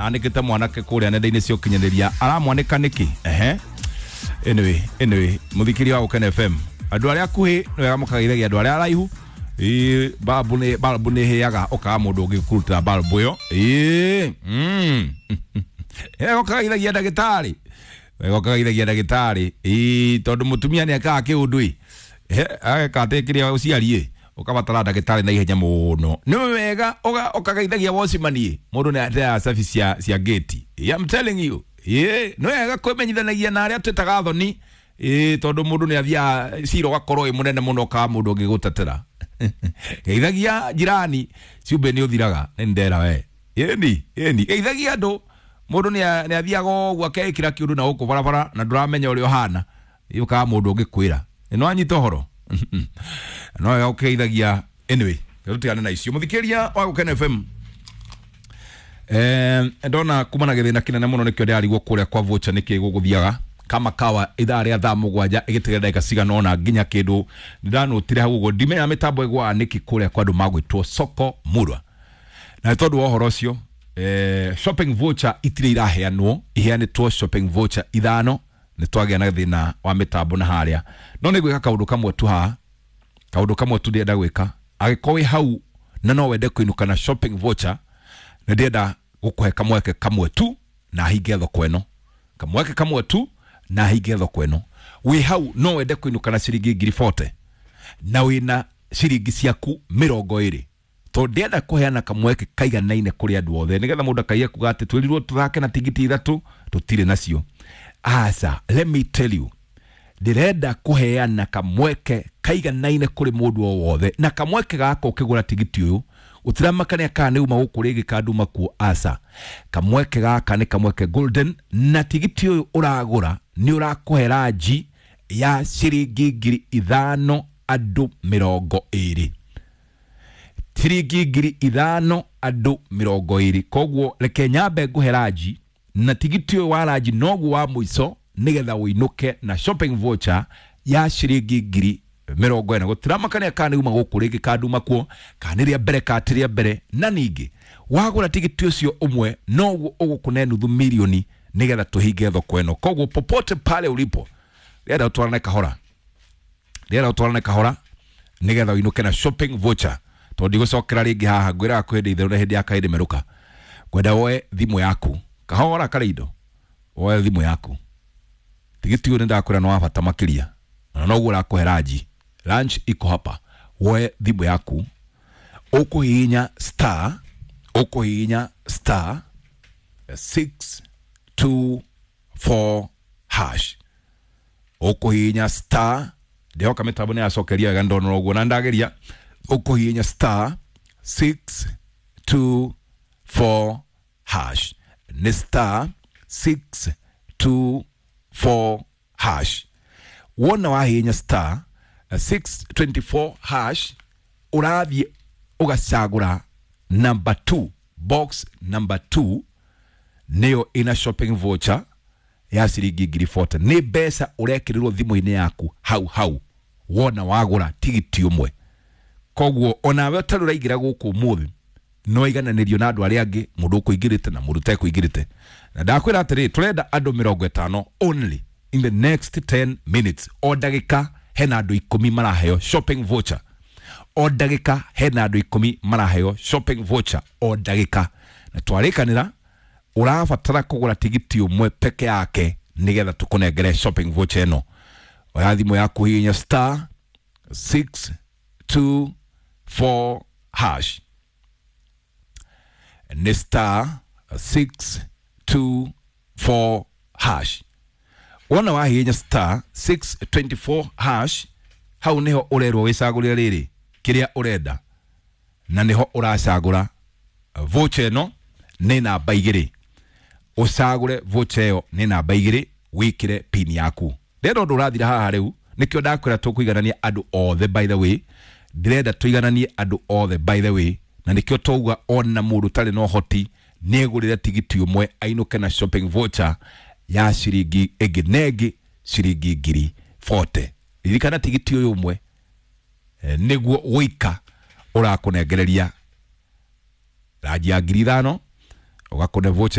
Anĩkĩte mwanake kũrĩa nenda-inĩ cia ũkinyanĩria aramwanĩka nĩkĩ? Ehe, anyway, mũthikĩria wa Gũkena FM, andũ arĩa akuhĩ nĩ wega mũkageithagia andũ arĩa araihu. Ĩĩ, balbu nĩ ĩhĩaga ũkaga mũndũ ũngĩkũrutĩra balbu ĩyo. Ĩĩ, wega ũkageithagia ndagĩtarĩ, wega ũkageithagia ndagĩtarĩ. Ĩĩ, tondũ mũtumia nĩ ekaga kĩũndũ ĩ, ageka atĩ kĩrĩa ũciari ĩ, ũkabatara ndagĩtarĩ na ihenya mũno. Nĩ wega ũkageithagia watchman ĩ, mũndũ nĩ ateaga cabi cia gate. I'm telling you. Ĩĩ, nĩ wega kwĩmenyithanagia na arĩa twĩtaga thoni. Ĩĩ, tondũ mũndũ nĩ athiaga cira ũgakorwo wĩ mũnene mũno ũkaga mũndũ ũngĩgũtetera. Geithagia jirani, cumbĩ nĩ ũthiraga, nĩ ndera we. Ĩni, ĩni, geithagia andũ. Mũndũ nĩ athiaga ũguo akeĩkĩra kĩũndũ na gũkũ barabara na ndũramenya ũrĩa ũhana. Ũkaga mũndũ ũngĩkwĩra. Nĩ wanyita ũhoro? No wega ũkĩgeithagia. Anyway, tũtigane na icio. Mũthikĩria wa Gũkena FM, ndona kuma na gĩthĩna kĩnene mũno, nĩkĩo ndĩrarigwo kũrĩa kwa voucher nĩkĩ gũgũthiaga kama kawa ithaa rĩa thaa 7 ĩgĩtigara ndagĩka cigana ũna nginya kĩndũ ndĩranũtire hau ũguo. Ndimenya mĩtambo ĩgwaga nĩkĩ kũrĩa kwa andũ magwĩtwo soko murwa. Na nĩ tondũ wa ũhoro ũcio, shopping voucher itirĩ iraheanwo, iheanĩtwo shopping voucher 5. Nĩ twagĩa na thĩna wa mĩtambo na harĩa, no nĩ gwĩka kaũndũ kamwe tu haha, kaũndũ kamwe tu ndĩrenda gwĩka. Angĩkorwo wĩ hau na no wende kũinũka na shopping voucher, nĩ ndĩrenda gũkũhe kamweke kamwe tu na hinge thoko ĩno. Kamweke kamwe tu na hinge thoko ĩno. Wĩ hau no wende kũinũka na ciringi 40,000 na wĩna ciringi ciaku 20, tondũ ndĩrenda kũheana kamweke kaiganaine kũrĩ andũ othe, nĩgetha mũndũ akaiya kuga atĩ twĩrirwo tũthake na tigiti 3 tũtirĩ nacio. Aca, let me tell you, ndĩrenda kũheana kamweke kaiganaine kũrĩ mũndũ o wothe, na kamweke gaka, ũkĩgũra tigiti ũyũ, gũtiramakania kana nĩ uma gũkũ rĩngĩ kana nduma kuo. Aca, kamweke gaka nĩ kamweke golden, na tigiti ũyũ ũragũra nĩ ũrakũhe ranji ya ciringi 5,000 andũ 20, ciringi 5,000 andũ 20. Koguo reke nyambe ngũhe ranji, na tigiti ũyũ wa ranji noguo wa mũico, nĩgetha ũinũke na shopping voucher ya ciringi 40,000. Gũtiramakania kana nĩ uma gũkũ rĩngĩ kana nduma kuo, kana nĩ rĩa mbere kana ti rĩa mbere. Na ningĩ wagũra tigiti ũcio ũmwe noguo ũgũkũne nuthu milioni, nĩgetha tũhinge thoko ĩno. Koguo popote pale ulipo, rĩenda ũtwarane kahora, rĩenda ũtwarane kahora, nĩgetha ũinũke na shopping voucher, tondũ ndigũcokera rĩngĩ haha. Ngwĩraga kwĩ hĩndĩ itherũ na hĩndĩ ya kahĩndĩ merũka. Ngwenda woe thimũ yaku kahora karĩ indo, woe thimũ yaku. Tigiti ũyũ nĩ ndakwĩra nĩ wa bata makĩria, na noguo ũrakũhe ranji. Lunch iko hapa. Woe thimũ yaku, ũkũhihinya star, ũkũhihinya star 624 hash, ũkũhihinya star. Ndĩhoka mĩtambo nĩ yacokeria wega, ndonora ũguo na ndageria. Ũkũhihinya star 624 hash, nĩ star 624 hash. Wona wahihinya star 624 hash, ũrathiĩ ũgacagũra number 2, box number 2 nĩyo ina shopping voucher ya ciringi 40,000. Nĩ mbeca ũrekĩrĩrwo thimũ-inĩ yaku hau hau wona wagũra tigiti ũmwe. Koguo onawe ũtarĩ ũraingĩra gũkũ ũmũthĩ, no igananĩrio na andũ arĩa angĩ, mũndũ ũkũingĩrĩte na mũndũ ũtekũingĩrĩte. Na ndakwĩra atĩrĩ, tũrenda andũ 50 only in the next 10 minutes. O ndagĩka hena andũ 10 maraheo shopping voucher, o ndagĩka hena andũ 10 maraheo shopping voucher, o ndagĩka. Na twarĩkanĩra ũrabatara kũgũra tigiti ũmwe peke yake nĩgetha tũkũnengere shopping voucher ĩno. Oya thimũ yaku, hihinya star 624 hash, nĩ star 624 hash. Wona wahihinya star 624 hash, hau niho ũrerwo wĩcagũrĩre rĩrĩ kĩrĩa ũrenda, na niho ũracagũra voucher ĩno nĩ namba 2. Ũcagũre voucher ĩyo nĩ namba 2, wĩkĩre pin yaku. Ndĩrenda ũndũ ũrathira haha rĩu, nĩkĩo ndakwĩra tũkũiganania andũ othe. By the way, ndĩrenda tũigananie andũ othe, by the way, na nĩkĩo twauga ona mũndũ ũtarĩ na ũhoti nĩegũrĩre tigiti ũmwe ainũke na shopping voucher ya ciringi ĩngĩ na ĩngĩ ciringi 40,000. Ririkana tigiti ũyũ ũmwe, nĩguo wĩika ũrakũnengereria ranji ya 5,000, ũgakũne voucher.